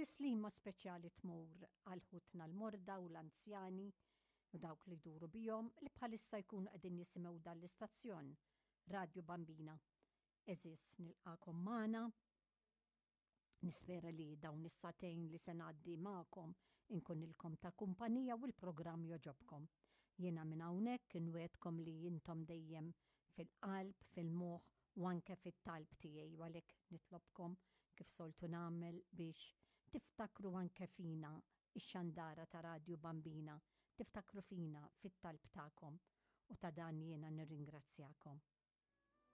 Tislima speċjali tmur għal ħutna l-morda u l-anzjani u dawk li jduru bihom li bħalissa jkunu qegħdin jisimgħu dan l-istazzjon Radju Bambina. Għeżież nilqakom magħna. Nispera li dawn is-sagħtejn li se ngħaddi magħkom inkunilkom ta' kumpanija u l-programm jogħġobkom. Jiena minn hawnhekk inwegħdkom li intom dejjem fil-qalb, fil-moħħ u anke fit-talb tiegħi u għalhekk nitlobkom kif soltu nagħmel biex tiftakru anke fina ix-xandara ta' Radju Bambina, tiftakru fina fit-talb tagħkom u ta' dan jiena nirringrazzjakom.